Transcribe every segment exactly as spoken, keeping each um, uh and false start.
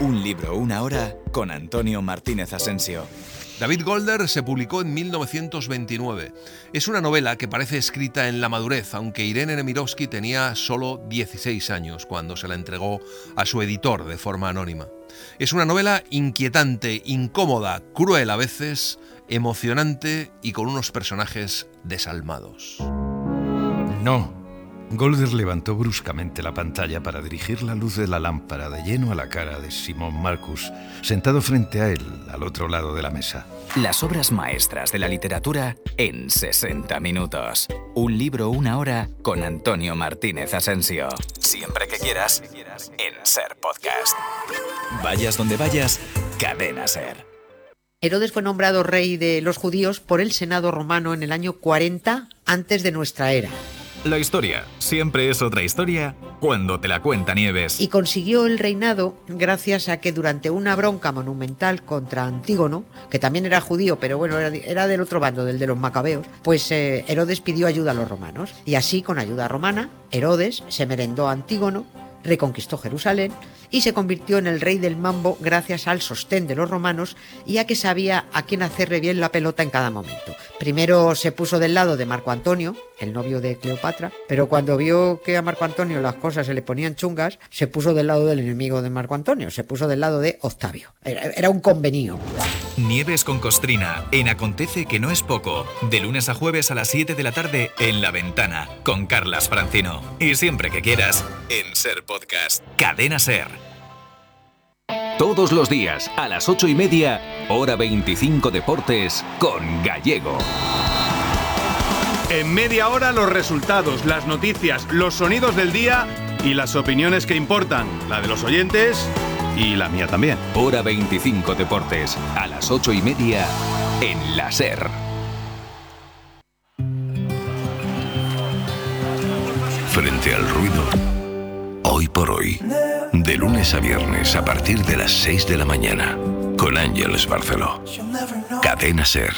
Un libro, una hora, con Antonio Martínez Asensio. David Golder se publicó en mil novecientos veintinueve. Es una novela que parece escrita en la madurez, aunque Irene Nemirovsky tenía solo dieciséis años cuando se la entregó a su editor de forma anónima. Es una novela inquietante, incómoda, cruel a veces, emocionante y con unos personajes desalmados. No. Golder levantó bruscamente la pantalla para dirigir la luz de la lámpara de lleno a la cara de Simon Marcus, sentado frente a él, al otro lado de la mesa. Las obras maestras de la literatura en sesenta minutos. Un libro, una hora, con Antonio Martínez Asensio. Siempre que quieras, en SER Podcast. Vayas donde vayas, Cadena SER. Herodes fue nombrado rey de los judíos por el Senado romano en el año cuarenta antes de nuestra era. La historia siempre es otra historia cuando te la cuenta Nieves. Y consiguió el reinado gracias a que durante una bronca monumental contra Antígono, que también era judío, pero bueno, era, era del otro bando, del de los macabeos, pues eh, Herodes pidió ayuda a los romanos. Y así, con ayuda romana, Herodes se merendó a Antígono, reconquistó Jerusalén y se convirtió en el rey del mambo gracias al sostén de los romanos y a que sabía a quién hacerle bien la pelota en cada momento. Primero se puso del lado de Marco Antonio, el novio de Cleopatra, pero cuando vio que a Marco Antonio las cosas se le ponían chungas, se puso del lado del enemigo de Marco Antonio, se puso del lado de Octavio. Era, era un convenio. Nieves con Costrina, en Acontece que no es poco, de lunes a jueves a las siete de la tarde en La Ventana, con Carlas Francino. Y siempre que quieras, en SER Podcast. Cadena SER. Todos los días, a las ocho y media, hora veinticinco Deportes, con Gallego. En media hora los resultados, las noticias, los sonidos del día y las opiniones que importan, la de los oyentes y la mía también. Hora veinticinco Deportes, a las ocho y media, en la SER. Frente al ruido, hoy por hoy, de lunes a viernes a partir de las seis de la mañana, con Ángeles Barceló. Cadena SER.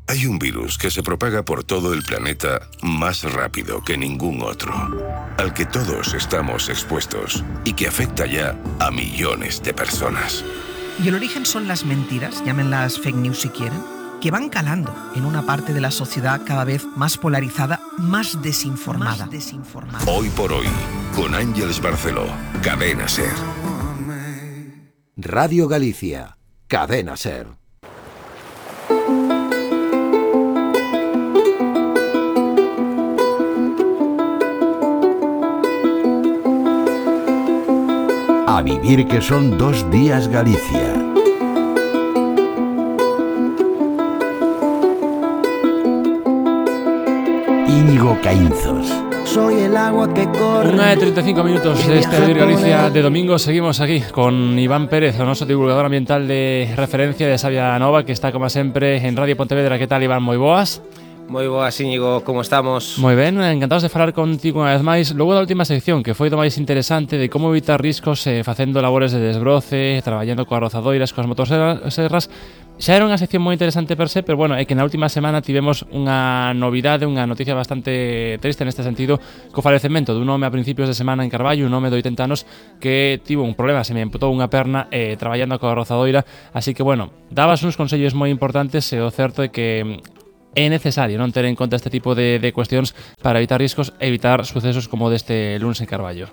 Hay un virus que se propaga por todo el planeta más rápido que ningún otro, al que todos estamos expuestos y que afecta ya a millones de personas. Y el origen son las mentiras, llámenlas fake news si quieren, que van calando en una parte de la sociedad cada vez más polarizada, más desinformada. Más desinformada. Hoy por hoy, con Ángeles Barceló, Cadena SER. Radio Galicia, Cadena SER. A vivir que son dos días Galicia. Íñigo Caínzos. Soy el agua que corre. Una de treinta y cinco minutos de este Vivir Galicia de domingo. Seguimos aquí con Iván Pérez, o noso divulgador ambiental de referencia de Sabia Nova, que está como sempre en Radio Pontevedra. Que tal, Iván? Moi boas. Moi boas, Íñigo, como estamos? Moi ben, encantados de falar contigo unha vez máis. Logo da última sección, que foi do máis interesante de como evitar riscos eh, facendo labores de desbroce, traballando coas rozadoiras, coas motosserras. Xa era unha sección moi interesante per se, pero bueno, é que na última semana tivemos unha novidade, unha noticia bastante triste neste sentido, co falecemento dun home a principios de semana en Carballo, un home de oitenta anos que tivo un problema, se me amputou unha perna eh, traballando coa rozadoira, así que bueno, dabas uns consellos moi importantes e o certo é que é necesario non ter en conta este tipo de, de cuestións para evitar riscos e evitar sucesos como deste lunes en Carballo.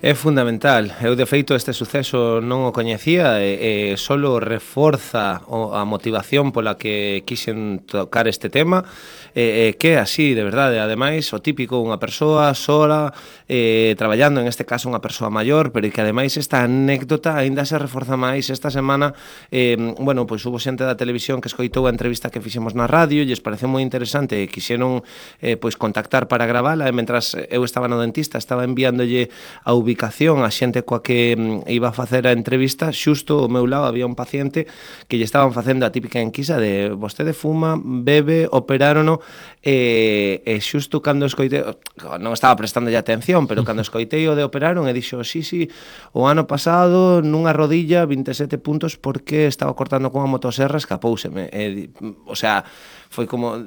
É fundamental. Eu, de feito, este suceso non o coñecía e, e solo reforza o, a motivación pola que quixen tocar este tema, e, e que así, de verdade, ademais, o típico, unha persoa sola, eh, traballando, en este caso unha persoa maior, pero que ademais esta anécdota aínda se reforza máis esta semana. Eh, bueno, pois hubo xente da televisión que escoitou a entrevista que fixemos na radio e lles pareceu moi interesante e quixeron eh, pois contactar para gravala, e mentras eu estaba no dentista estaba enviándolle a ubicación ubicación a xente coa que iba a facer a entrevista. Xusto ao meu lado había un paciente que lle estaban facendo a típica enquisa de vostede fuma, bebe, operárono, e, e xusto cando escoitei, non estaba prestando ya atención, pero cando escoitei o de operaron e dixo, sí, sí, o ano pasado nunha rodilla vinte e sete puntos porque estaba cortando con a motosserra, escapóuseme. E, o sea, foi como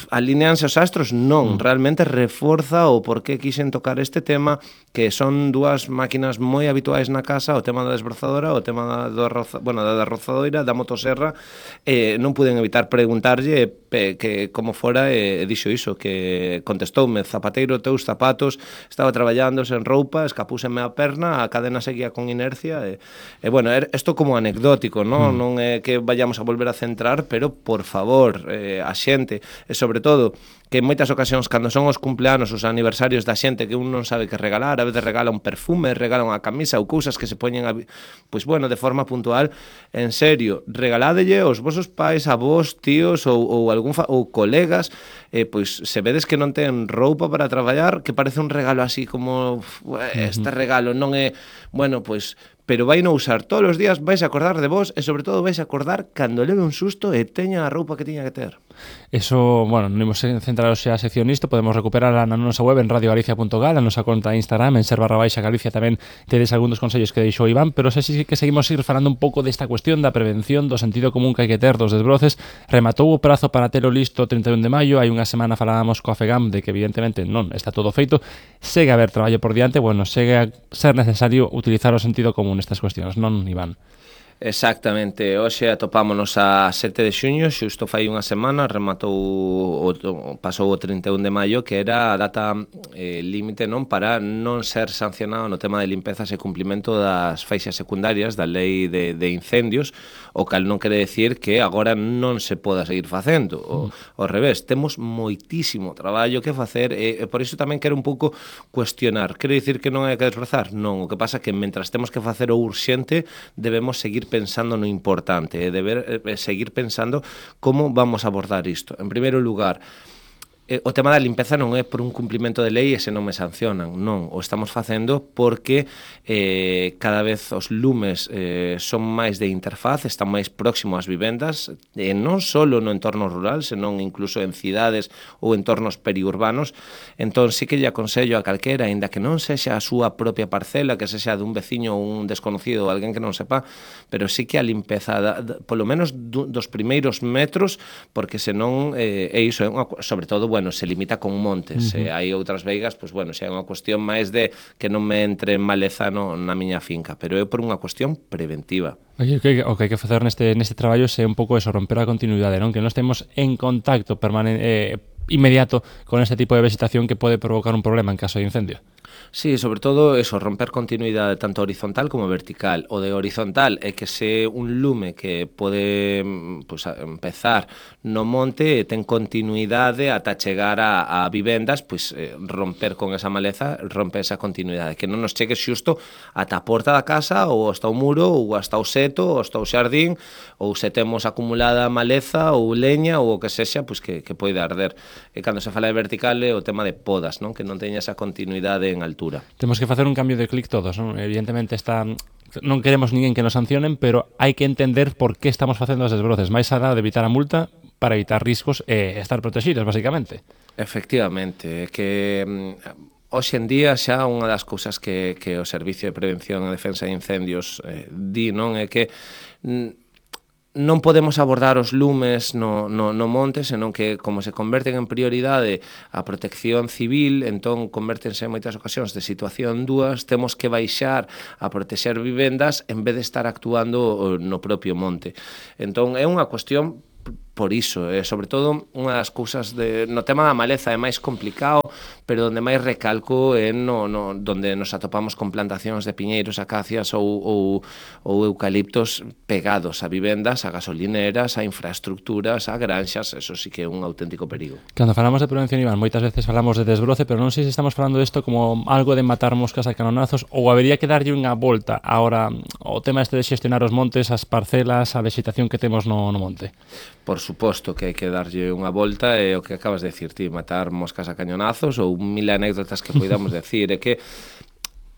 alineanse os astros. Non, realmente reforza o por que quixen tocar este tema, que son dúas dúas máquinas moi habituais na casa, o tema da desbrozadora, o tema do arroza, bueno, da rozadoira, da motoserra, eh, non puden evitar preguntarlle pe, que como fora, e eh, dixo iso, que contestoume: zapateiro, teus zapatos, estaba traballando sen roupa, escapúseme a perna, a cadena seguía con inercia, e, e bueno, isto como anecdótico, non? Mm. Non é que vayamos a volver a centrar, pero por favor, eh, a xente, e sobre todo, que en moitas ocasións, cando son os cumpleanos, os aniversarios da xente, que un non sabe que regalar, a veces regala un perfume, regala unha camisa ou cousas que se poñen, a, pois bueno, de forma puntual, en serio, regaládelle aos vosos pais, avós, tíos ou, ou algún fa, ou colegas, eh, pois se vedes que non ten roupa para traballar, que parece un regalo así como, este regalo non é, bueno, pois, pero vai non usar todos os días, vais a acordar de vos e sobre todo vais a acordar cando leve un susto e teña a roupa que tiña que ter. Eso, bueno, non imos centrar xa a sección nisto, podemos recuperarla na nosa web en radio galicia punto gal, a nosa conta de Instagram, en ser barra baixa Galicia tamén tedes algún dos consellos que deixou Iván, pero xa sí que seguimos ir falando un pouco desta cuestión da prevención, do sentido común que hai que ter dos desbroces. Rematou o prazo para telo listo o trinta e un de maio, hai unha semana falábamos coa FEGAM de que evidentemente non está todo feito, segue a haber traballo por diante, bueno, segue a ser necesario utilizar o sentido común nestas cuestións, non, Iván? Exactamente, hoxe atopámonos a sete de xuño, xusto fai unha semana, rematou o, o, pasou o trinta e un de maio, que era a data eh, límite, non, para non ser sancionado no tema de limpezas e cumplimento das faixas secundarias da lei de, de incendios, o cal non quere decir que agora non se poda seguir facendo, o, mm. ao revés, temos moitísimo traballo que facer, e, e por iso tamén quero un pouco cuestionar. Quero dicir que non hai que desbrozar? Non, o que pasa é que mentras temos que facer o urxente, debemos seguir pensando no importante, e deber eh, seguir pensando como vamos a abordar isto. En primeiro lugar, eh, o tema da limpeza non é por un cumplimento de lei e se non me sancionan, non, o estamos facendo porque eh, cada vez os lumes eh, son máis de interfaz, están máis próximo ás vivendas, e non só no entorno rural, senón incluso en cidades ou entornos periurbanos. Entón sí que lle aconsello a calquera, aínda que non sexa a súa propia parcela, que sexa dun veciño ou un desconocido ou alguén que non sepa, pero sí que a limpeza da, da, polo menos do, dos primeiros metros, porque senón eh, é iso, é unha, sobre todo, bueno, se limita con montes, uh -huh. e hai outras veigas, pois bueno, xa é unha cuestión máis de que non me entre maleza no, na miña finca, pero é por unha cuestión preventiva. Oye, que, o que hai que facer neste, neste traballo é un pouco eso, romper a continuidade, non? Que non estemos en contacto permanente, eh, inmediato con este tipo de vegetación que pode provocar un problema en caso de incendio. Sí, sobre todo eso, romper continuidade tanto horizontal como vertical. O de horizontal é que se un lume que pode pues, empezar no monte e ten continuidade ata chegar a, a vivendas, pues, eh, romper con esa maleza, romper esa continuidade, que non nos chegue xusto ata a porta da casa ou hasta o muro ou hasta o seto ou hasta o xardín, ou se temos acumulada maleza ou leña ou o que sexa, pues, que, que pode arder. E cando se fala de vertical é o tema de podas, non? Que non teña esa continuidade en altura. Temos que facer un cambio de clic todos, non? Evidentemente está, non queremos ninguén que nos sancionen, pero hai que entender por que estamos facendo os desbroces, máis alá de evitar a multa para evitar riscos e estar protegidos, basicamente. Efectivamente, é que hoxe en día xa unha das cousas que, que o Servicio de Prevención e Defensa de Incendios eh, di, non, é que non podemos abordar os lumes no, no, no monte, senón que, como se converten en prioridade a protección civil, entón convértense en moitas ocasións de situación dúas, temos que baixar a protexer vivendas en vez de estar actuando no propio monte. Entón é unha cuestión por iso, e sobre todo unha das cousas de, no tema da maleza é máis complicado, pero onde máis recalco é no, no, donde nos atopamos con plantacións de piñeiros, acacias ou, ou, ou eucaliptos pegados a vivendas, a gasolineras, a infraestructuras, a granxas, eso sí que é un auténtico perigo. Cando falamos de prevención, Iván, moitas veces falamos de desbroce, pero non sei se estamos falando disto como algo de matar moscas a canonazos, ou habería que darlle unha volta ahora o tema este de xestionar os montes, as parcelas, a vegetación que temos no, no monte. Por suposto que hai que darlle unha volta, e o que acabas de decir ti, matar moscas a cañonazos ou mil anécdotas que podamos decir, é que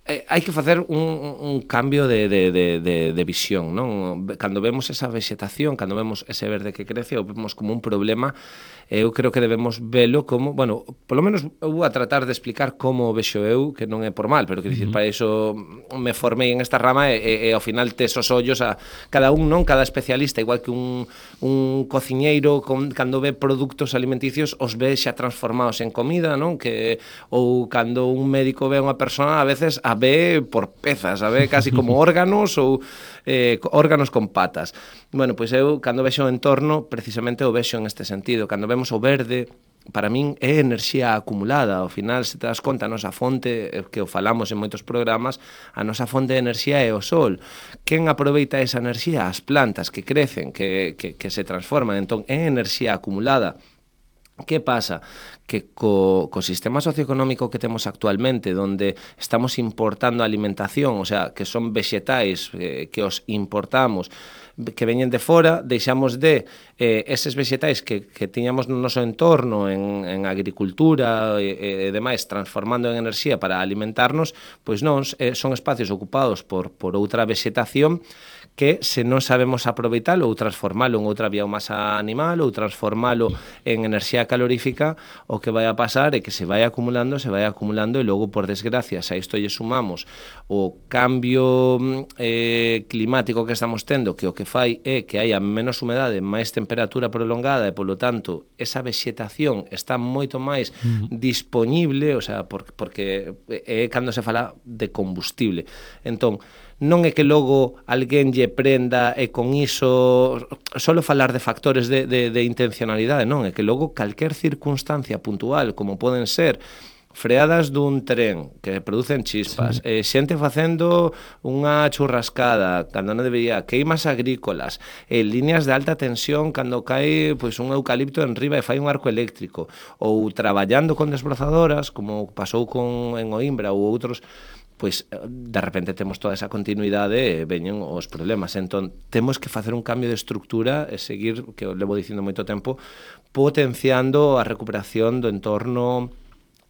eh, hai que facer un, un cambio de, de, de, de, de visión, non? Cando vemos esa vegetación, cando vemos ese verde que crece, o vemos como un problema, eu creo que debemos velo como, bueno, polo menos eu vou a tratar de explicar como o vexo eu, que non é por mal, pero que dicir, uh -huh. para iso me formei en esta rama e, e, e ao final tes os ollos a cada un, non? Cada especialista, igual que un, un cociñeiro con, cando ve produtos alimenticios os ve xa transformados en comida, non? Que, ou cando un médico ve a unha persona, a veces a ve por pezas, a ve casi como órganos ou eh, órganos con patas. Bueno, pois eu, cando vexo o entorno, precisamente o vexo en este sentido. Cando vemos o verde, para min é enerxía acumulada. Ao final, se te das conta, a nosa fonte, que o falamos en moitos programas, a nosa fonte de enerxía é o sol. Quen aproveita esa enerxía? As plantas que crecen, que, que, que se transforman. Entón, é enerxía acumulada. Que pasa? Que co, co sistema socioeconómico que temos actualmente, donde estamos importando alimentación, o sea, que son vexetais eh, que os importamos, que veñen de fora, deixamos de eh, eses vexetais que, que tiñamos no noso entorno en, en agricultura e, e demais, transformando en enerxía para alimentarnos, pois non, eh, son espacios ocupados por, por outra vexetación que se non sabemos aproveitalo ou transformalo en outra biomasa animal ou transformalo en enerxía calorífica, o que vai a pasar é que se vai acumulando, se vai acumulando e logo, por desgracia, se a isto lle sumamos o cambio eh, climático que estamos tendo, que o que fai é que haya menos humedade, máis temperatura prolongada e, polo tanto, esa vexetación está moito máis mm. dispoñible, o sea, por, porque é cando se fala de combustible. Entón, non é que logo alguén lle prenda e con iso solo falar de factores de, de, de intencionalidade, non, é que logo calquer circunstancia puntual, como poden ser freadas dun tren que producen chispas, sí. eh, xente facendo unha churrascada cando non debería, queimas agrícolas, eh, líneas de alta tensión cando cae pois, un eucalipto en riba e fai un arco eléctrico, ou traballando con desbrozadoras, como pasou con en Oimbra ou outros, pois de repente temos toda esa continuidade e veñen os problemas. Entón, temos que facer un cambio de estructura e seguir, que o levo dicindo moito tempo, potenciando a recuperación do entorno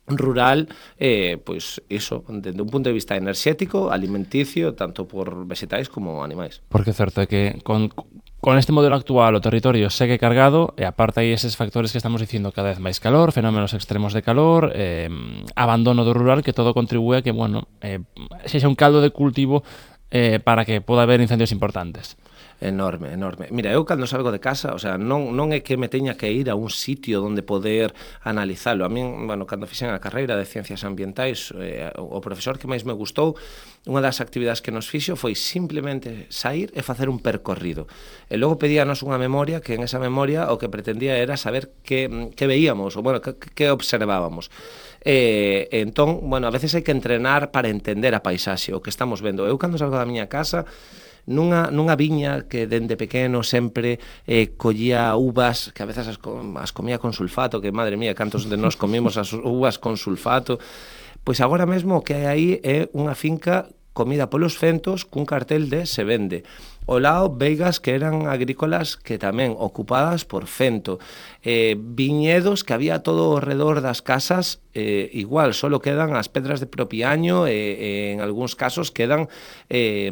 rural, eh, pois iso, desde un punto de vista enerxético, alimenticio, tanto por vegetais como animais. Porque é certo é que con, con este modelo actual o territorio segue cargado e aparte hai eses factores que estamos dicindo, cada vez máis calor, fenómenos extremos de calor, eh, abandono do rural, que todo contribúe a que, bueno, eh, sexa un caldo de cultivo eh, para que poda haber incendios importantes. Enorme, enorme. Mira, eu cando salgo de casa, o sea, non, non é que me teña que ir a un sitio onde poder analizalo. A min, bueno, cando fixen a carreira de Ciencias Ambientais, eh, o profesor que máis me gustou, unha das actividades que nos fixo foi simplemente sair e facer un percorrido. E logo pedíanos unha memoria, que en esa memoria o que pretendía era saber que, que veíamos, ou, bueno, que, que observábamos. E, entón, bueno, a veces hai que entrenar para entender a paisaxe, o que estamos vendo. Eu, cando salgo da miña casa, Nunha, nunha viña que dende pequeno sempre eh, collía uvas, que a veces as, as comía con sulfato, que madre mía, cantos de nós comimos as uvas con sulfato, pois agora mesmo o que hai aí é unha finca comida polos fentos cun cartel de se vende. Ao lado, veigas que eran agrícolas que tamén ocupadas por fento. Eh, viñedos que había todo ao redor das casas, eh, igual, solo quedan as pedras de propiaño e eh, en algúns casos quedan Eh,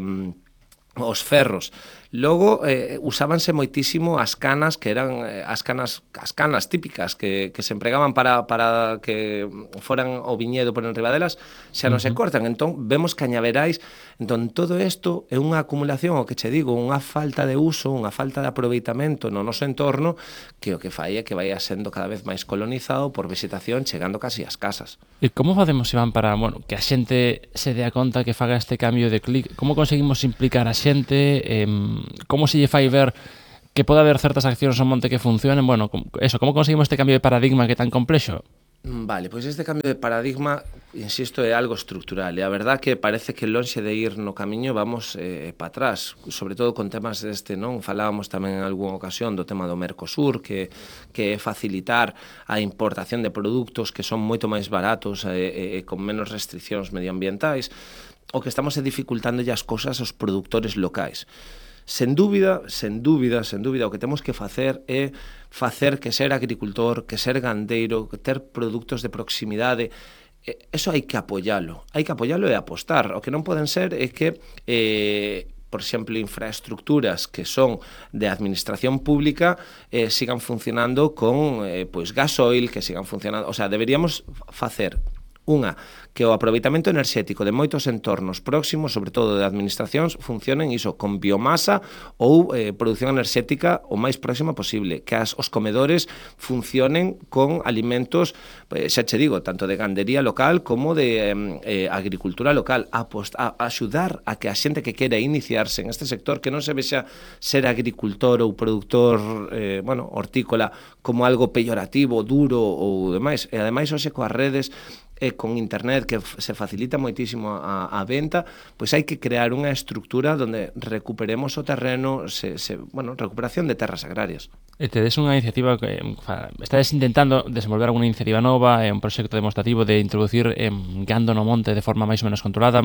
os ferros. Logo, eh, usábanse moitísimo as canas, que eran eh, as canas as canas típicas que, que se empregaban para, para que foran o viñedo por enriba delas, xa non uh-huh. se cortan. Entón, vemos cañaverais. Entón, todo isto é unha acumulación, o que che digo, unha falta de uso, unha falta de aproveitamento no noso entorno, que o que fai é que vai sendo cada vez máis colonizado por vegetación, chegando casi ás casas. E como facemos, Iván, para, bueno, que a xente se dea conta que faga este cambio de clic? Como conseguimos implicar a xente? Eh, como se lle fai ver que pode haber certas accións no monte que funcionen? Bueno, eso, como conseguimos este cambio de paradigma que é tan complexo? Vale, pois este cambio de paradigma, insisto, é algo estructural, e a verdad que parece que lonxe de ir no camiño vamos eh, para atrás, sobre todo con temas deste, non? Falábamos tamén en algunha ocasión do tema do Mercosur, que, que é facilitar a importación de produtos que son moito máis baratos e, e con menos restriccións medioambientais. O que estamos é dificultando as cousas aos produtores locais. Sen dúbida, sen dúbida, sen dúbida, o que temos que facer é facer que ser agricultor, que ser gandeiro, que ter produtos de proximidade, eso hai que apoialo, hai que apoialo e apostar. O que non poden ser é que, eh, por exemplo, infraestructuras que son de administración pública eh, sigan funcionando con eh, pois gasoil, que sigan funcionando, o sea, deberíamos facer Unha, que o aproveitamento enerxético de moitos entornos próximos, sobre todo de administracións, funcionen iso con biomasa ou eh, produción enerxética o máis próxima posible, que as, os comedores funcionen con alimentos, eh, xa che digo, tanto de gandería local como de eh, agricultura local, a, post, a, a axudar a que a xente que quere iniciarse en este sector, que non se vexa ser agricultor ou produtor eh, bueno, hortícola como algo peyorativo, duro ou demais, e ademais hoxe coas redes e con internet que se facilita moitísimo a, a venta, pois hai que crear unha estructura donde recuperemos o terreno, se, se, bueno, recuperación de terras agrarias. E tedes unha iniciativa que estades intentando desenvolver alguna iniciativa nova, un proxecto demostrativo de introducir eh, gando no monte de forma máis ou menos controlada.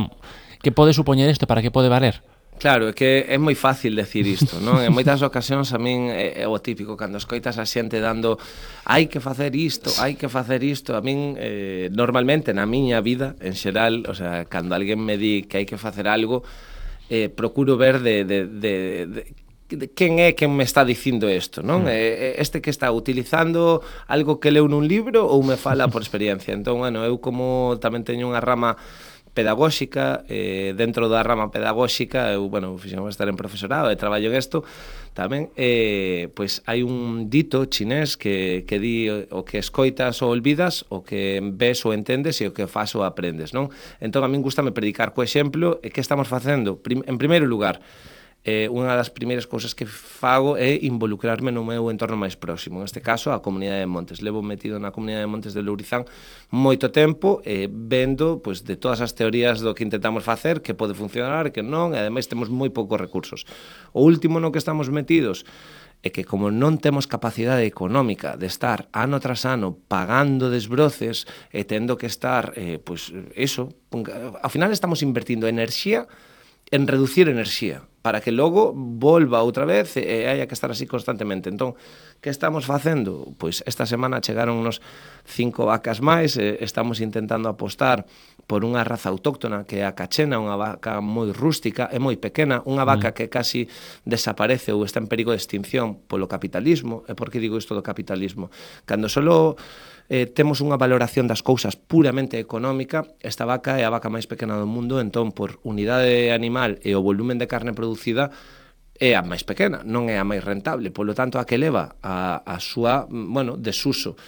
Que pode supoñer isto? Para que pode valer? Claro, é que é moi fácil decir isto, non? En moitas ocasións a min é, é o típico, cando escoitas a xente dando hai que facer isto, hai que facer isto, a min eh, normalmente na miña vida, en xeral, o sea, cando alguén me di que hai que facer algo, eh, procuro ver de, de, de, de quen é quen me está dicindo isto, non? Mm. Este que está utilizando algo que leu nun libro ou me fala por experiencia. Entón, bueno, eu como tamén teño unha rama pedagóxica, eh, dentro da rama pedagóxica, eu, bueno, fixemos estar en profesorado e traballo en isto, tamén, eh, pois hai un dito chinés que, que di o que escoitas ou olvidas, o que ves ou entendes e o que fas ou aprendes, non? Entón, a min gustame predicar co exemplo, e que estamos facendo? Prim, en primeiro lugar, eh, unha das primeiras cousas que fago é involucrarme no meu entorno máis próximo, en este caso a comunidade de Montes. Levo metido na comunidade de Montes de Lourizán moito tempo, eh, vendo pois, de todas as teorías do que intentamos facer, que pode funcionar, que non, e ademais temos moi poucos recursos. O último no que estamos metidos é que como non temos capacidade económica de estar ano tras ano pagando desbroces e tendo que estar, eh, pois, eso, ao final estamos invertindo enerxía en reducir enerxía, para que logo volva outra vez e haya que estar así constantemente. Entón, que estamos facendo? Pois esta semana chegaron unos cinco vacas máis, e estamos intentando apostar por unha raza autóctona que é a cachena, unha vaca moi rústica e moi pequena, unha vaca que casi desaparece ou está en perigo de extinción polo capitalismo. E por que digo isto do capitalismo? Cando solo eh, temos unha valoración das cousas puramente económica, esta vaca é a vaca máis pequena do mundo, entón por unidade animal e o volumen de carne producida é a máis pequena, non é a máis rentable, polo tanto a que leva a, a súa, bueno, desuso.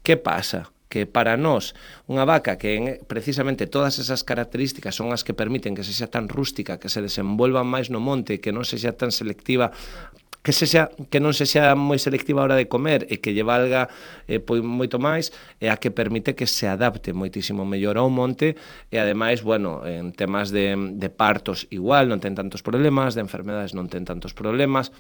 Que pasa? Que para nós unha vaca que precisamente todas esas características son as que permiten que sexa tan rústica, que se desenvolva máis no monte, que non sexa tan selectiva, que sexa que non sexa moi selectiva a hora de comer e que lle valga eh, pois moito máis, é a que permite que se adapte moitísimo mellor ao monte e ademais, bueno, en temas de, de partos igual, non ten tantos problemas, de enfermedades non ten tantos problemas.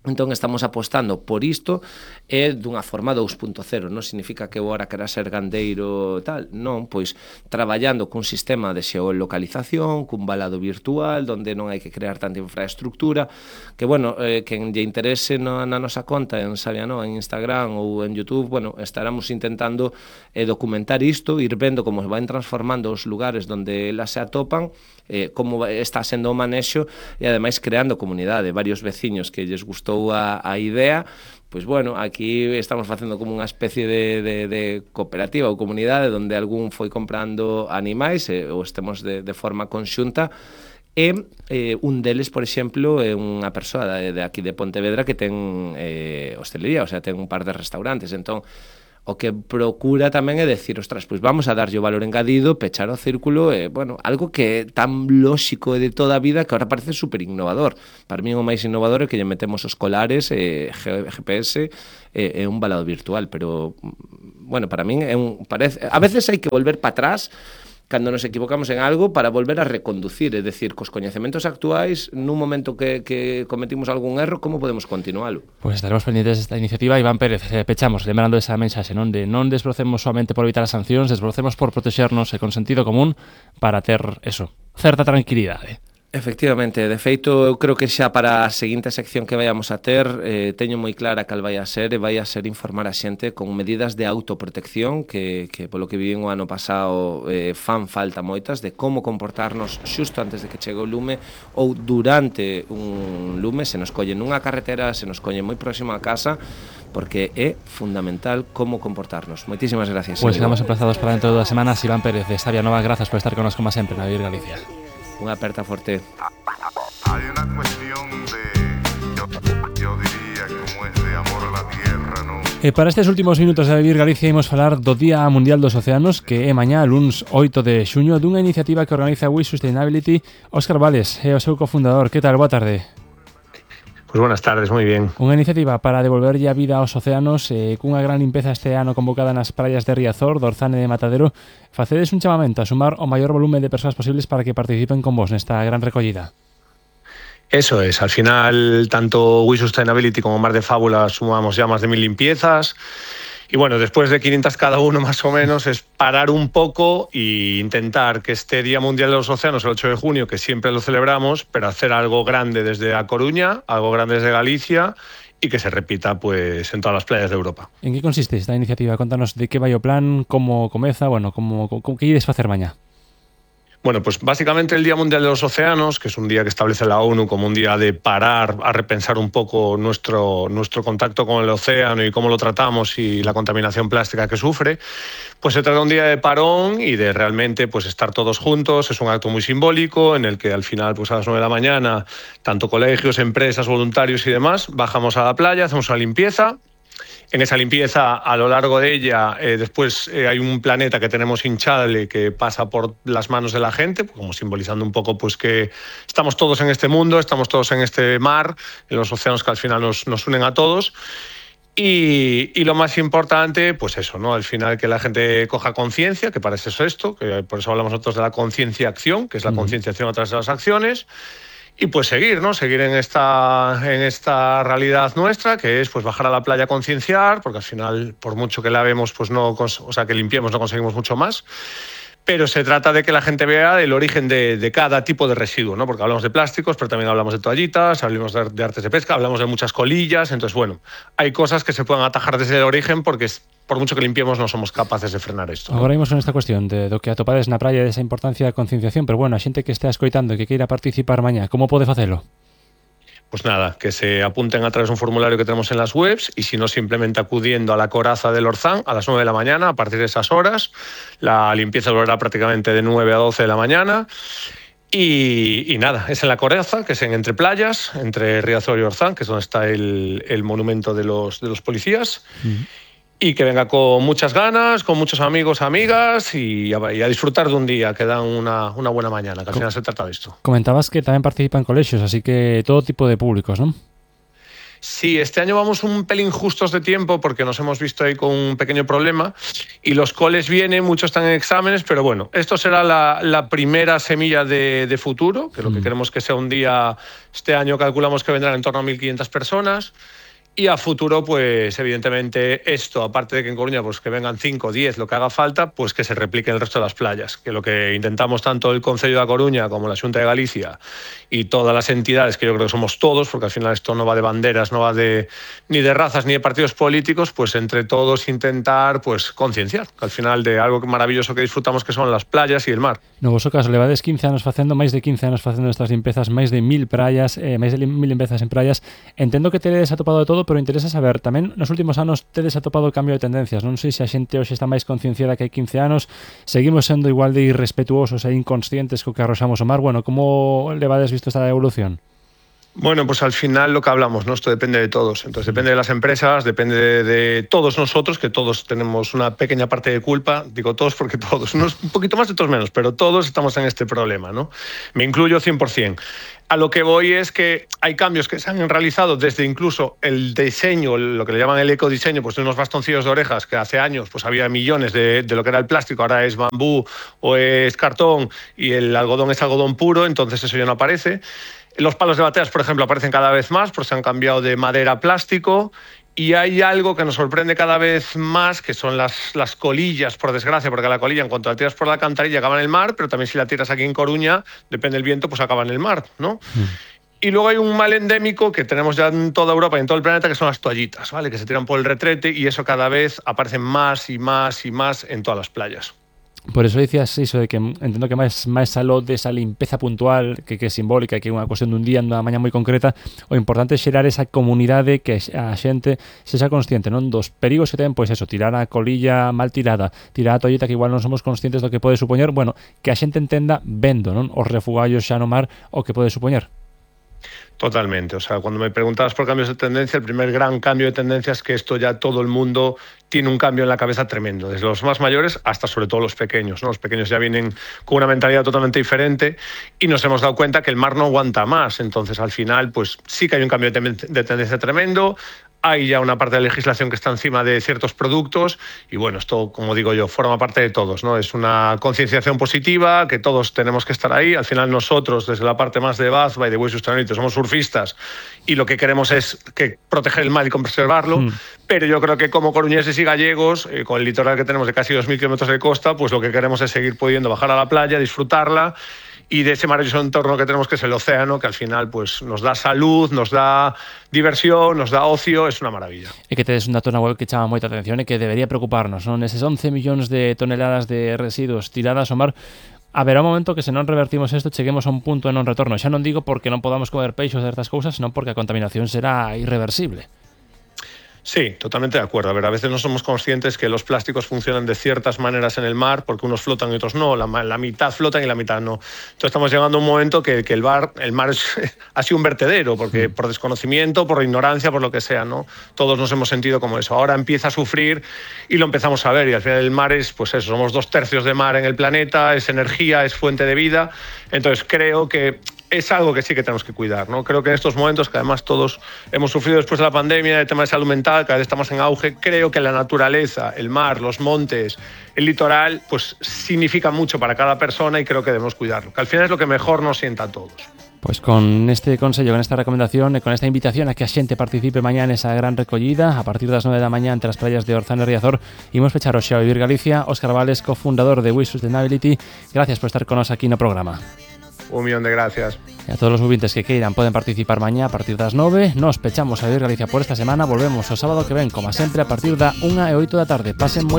Entón estamos apostando por isto e dunha forma dos punto cero, non significa que eu agora quera ser gandeiro tal, non, pois traballando cun sistema de xeolocalización, cun balado virtual, onde non hai que crear tanta infraestructura, que, bueno, eh, quen lle interese no, na nosa conta en Sabiano, en Instagram ou en YouTube, bueno, estaremos intentando eh, documentar isto, ir vendo como se van transformando os lugares onde elas se atopan, eh, como está sendo o manexo e ademais creando comunidade, varios veciños que lles gustou a, a idea, pois bueno, aquí estamos facendo como unha especie de, de, de cooperativa ou comunidade onde algún foi comprando animais e, ou estemos de, de forma conxunta e eh, un deles, por exemplo, é unha persoa de, de aquí de Pontevedra que ten eh, hostelería, o sea, ten un par de restaurantes, entón o que procura tamén é decir, ostras, pois vamos a darlle o valor engadido, pechar o círculo, e, bueno, algo que é tan lóxico de toda a vida que ahora parece super innovador. Para mí o máis innovador é que lle metemos os colares, eh, G P S e eh, un balado virtual, pero, bueno, para min é un, parece, a veces hai que volver para atrás cando nos equivocamos en algo para volver a reconducir, é dicir, cos coñecementos actuais, nun momento que, que cometimos algún erro, como podemos continualo? Pois pues estaremos pendientes desta iniciativa. Iván Pérez, eh, pechamos, lembrando esa mensaxe, non de non desbrocemos somente por evitar as sancións, desbrocemos por protexernos e con sentido común para ter, eso, certa tranquilidade. Efectivamente, de feito, eu creo que xa para a seguinte sección que vayamos a ter eh, teño moi clara cal vai a ser e vai a ser informar a xente con medidas de autoprotección que, que polo que vivín o ano pasado eh, fan falta moitas de como comportarnos xusto antes de que chegue o lume ou durante un lume, se nos colle nunha carretera, se nos colle moi próximo a casa, porque é fundamental como comportarnos. Moitísimas gracias. Pois pues quedamos emplazados para dentro de dúas semanas. Iván Pérez de Sabia Nova, grazas por estar con nos como sempre na Vivir Galicia. Unha aperta forte. Hay una cuestión de, yo, yo diría, como es de amor a la tierra, ¿no? E para estes últimos minutos de Vivir Galicia imos falar do Día Mundial dos Océanos, que é mañá, luns oito de xuño, dunha iniciativa que organiza We Sustainability. Óscar Vales é o seu cofundador. Que tal? Boa tarde. Pues buenas tardes, moi bien. Unha iniciativa para devolverlle a vida aos océanos eh, cunha gran limpeza este ano convocada nas praias de Riazor, do Orzán e de Matadero. Facedes un chamamento a sumar o maior volume de persoas posibles para que participen con vos nesta gran recollida. Eso es, al final tanto We Sustainability como Mar de Fábula sumamos ya más de mil limpiezas. Y bueno, después de quinientas cada uno más o menos, es parar un poco e intentar que este Día Mundial de los Océanos, el ocho de junio, que siempre lo celebramos, pero hacer algo grande desde A Coruña, algo grande desde Galicia y que se repita pues en todas las playas de Europa. En que consiste esta iniciativa? Contanos de que vai o plan, como comeza, bueno, como, como que ides facer mañá. Bueno, pues básicamente el Día Mundial de los Océanos, que es un día que establece la ONU como un día de parar a repensar un poco nuestro, nuestro contacto con el océano y cómo lo tratamos y la contaminación plástica que sufre, pues se trata de un día de parón y de realmente pues estar todos juntos. Es un acto muy simbólico en el que al final pues a las nueve de la mañana, tanto colegios, empresas, voluntarios y demás, bajamos a la playa, hacemos una limpieza. En esa limpieza, a lo largo de ella, eh, después eh, hay un planeta que tenemos hinchable que pasa por las manos de la gente, como simbolizando un poco pues que estamos todos en este mundo, estamos todos en este mar, en los océanos que al final nos, nos unen a todos. Y, y lo más importante, pues eso, ¿no? Al final que la gente coja conciencia, que para eso es esto, que por eso hablamos nosotros de la conciencia-acción, que es la mm. concienciación a través de las acciones. Y pues seguir, ¿no? Seguir en esta, en esta realidad nuestra, que es pues bajar a la playa a concienciar, porque al final, por mucho que lavemos, pues no, o sea, que limpiemos, no conseguimos mucho más. Pero se trata de que la gente vea el origen de, de cada tipo de residuo, ¿no? Porque hablamos de plásticos, pero también hablamos de toallitas, hablamos de, de artes de pesca, hablamos de muchas colillas. Entonces, bueno, hay cosas que se pueden atajar desde el origen porque es, por mucho que limpiemos non somos capaces de frenar isto. Agora imos con esta cuestión de do que atopades na praia desa importancia da concienciación, pero bueno, a xente que estea escoitando e que queira participar mañá, como pode facelo? Pues nada, que se apunten a través de un formulario que tenemos en las webs y si no, simplemente acudiendo a la coraza del Orzán a las nueve de la mañana, a partir de esas horas. La limpieza durará prácticamente de nueve a doce de la mañana. Y, y nada, es en la coraza, que es en entre playas, entre Riazor y Orzán, que es donde está el, el monumento de los, de los policías. Uh-huh. Y que venga con muchas ganas, con muchos amigos, amigas y a, y a disfrutar de un día que dan una, una buena mañana, que al final se trata de esto. Comentabas que también participan colegios, así que todo tipo de públicos, ¿no? Sí, este año vamos un pelín justos de tiempo porque nos hemos visto ahí con un pequeño problema y los coles vienen, muchos están en exámenes, pero bueno, esto será la, la primera semilla de, de futuro, que lo que queremos que sea un día, este año calculamos que vendrán en torno a mil quinientas personas. Y a futuro, pues evidentemente esto, aparte de que en Coruña pues que vengan cinco, diez, lo que haga falta, pues que se replique en el resto de las playas. Que lo que intentamos tanto el Concello de A Coruña como la Xunta de Galicia y todas las entidades, que yo creo que somos todos, porque al final esto no va de banderas, no va de ni de razas ni de partidos políticos, pues entre todos intentar pues concienciar, que al final de algo maravilloso que disfrutamos que son las playas y el mar. No voso caso, levades quince anos facendo, máis de quince anos facendo estas limpezas, máis de mil praias, eh, máis de mil limpezas en praias. Entendo que tedes atopado de todo, pero interesa saber, tamén nos últimos anos tedes atopado o cambio de tendencias. Non sei se a xente hoxe está máis concienciada que hai quince anos, seguimos sendo igual de irrespetuosos e inconscientes co que arroxamos o mar. Bueno, como levades visto esta evolución? Bueno, pues al final lo que hablamos, ¿no? Esto depende de todos. Entonces depende de las empresas, depende de, de todos nosotros, que todos tenemos una pequeña parte de culpa. Digo todos porque todos, unos un poquito más, otros menos, pero todos estamos en este problema, ¿no? Me incluyo cien por ciento. A lo que voy es que hay cambios que se han realizado desde incluso el diseño, lo que le llaman el ecodiseño, pues de unos bastoncillos de orejas que hace años pues había millones de, de lo que era el plástico, ahora es bambú o es cartón y el algodón es algodón puro, entonces eso ya no aparece. Los palos de bateas, por ejemplo, aparecen cada vez más porque se han cambiado de madera a plástico Y hay algo que nos sorprende cada vez más, que son las, las colillas, por desgracia, porque la colilla, en cuanto la tiras por la alcantarilla, acaba en el mar, pero también si la tiras aquí en Coruña, depende del viento, pues acaba en el mar, ¿no? Mm. Y luego hay un mal endémico que tenemos ya en toda Europa y en todo el planeta, que son las toallitas, ¿vale? Que se tiran por el retrete, y eso cada vez aparece más y más y más en todas las playas. Por eso decías iso de que entendo que máis máis aló desa limpeza puntual que, que é simbólica, que é unha cuestión dun día, dunha mañá moi concreta, o importante é xerar esa comunidade, que a xente sexa consciente, non, dos perigos que ten, pois eso, tirar a colilla mal tirada, tirar a toalleta que igual non somos conscientes do que pode supoñer, bueno, que a xente entenda vendo, non, os refugallos xa no mar o que pode supoñer. Totalmente, o sea, cuando me preguntabas por cambios de tendencia, el primer gran cambio de tendencia es que esto ya todo el mundo tiene un cambio en la cabeza tremendo, desde los más mayores hasta sobre todo los pequeños, ¿no? Los pequeños ya vienen con una mentalidad totalmente diferente y nos hemos dado cuenta que el mar no aguanta más, entonces al final pues sí que hay un cambio de, ten- de tendencia tremendo. Hay ya una parte de la legislación que está encima de ciertos productos y bueno, esto, como digo yo, forma parte de todos, ¿no? Es una concienciación positiva, que todos tenemos que estar ahí. Al final nosotros, desde la parte más de Bazba y de Way Sustainability, somos surfistas y lo que queremos es que proteger el mar y conservarlo, mm. pero yo creo que como coruñeses y gallegos, eh, con el litoral que tenemos de casi dos mil kilómetros de costa, pues lo que queremos es seguir pudiendo bajar a la playa, disfrutarla, y de ese maravilloso entorno que tenemos, que es el océano, que al final pues nos da salud, nos da diversión, nos da ocio, es una maravilla. E que tedes un dato na web que chama moita atención e que debería preocuparnos, non? Eses once millóns de toneladas de residuos tiradas ao mar, haberá un momento que se non revertimos isto cheguemos a un punto de non retorno. Xa non digo porque non podamos comer peixes de estas cousas, senón porque a contaminación será irreversible. Sí, totalmente de acuerdo. A ver, a veces no somos conscientes que los plásticos funcionan de ciertas maneras en el mar, porque unos flotan y otros no, la, la mitad flotan y la mitad no. Entonces estamos llegando a un momento que, que el, bar, el mar es, ha sido un vertedero, porque por desconocimiento, por ignorancia, por lo que sea, ¿no? Todos nos hemos sentido como eso. Ahora empieza a sufrir y lo empezamos a ver, y al final el mar es, pues eso, somos dos tercios de mar en el planeta, es energía, es fuente de vida. Entonces creo que es algo que sí que tenemos que cuidar, ¿no? Creo que en estos momentos, que además todos hemos sufrido después de la pandemia, el tema de salud mental, cada vez estamos en auge, creo que la naturaleza, el mar, los montes, el litoral, pues significa mucho para cada persona y creo que debemos cuidarlo, que al final es lo que mejor nos sienta a todos. Pois con este consello, con esta recomendación e con esta invitación a que a xente participe mañá nesa gran recollida a partir das nove da mañá entre as praias de Orzán e Riazor, imos pechar hoxe a Vivir Galicia. Óscar Vales, cofundador de Way Sustainability, gracias por estar con nos aquí no programa. Un millón de gracias. E a todos os ouvintes que queiran poden participar mañá a partir das nove. Nos pechamos a Vivir Galicia por esta semana. Volvemos o sábado que ven, como sempre, a partir da unha e oito da tarde. Pasen moi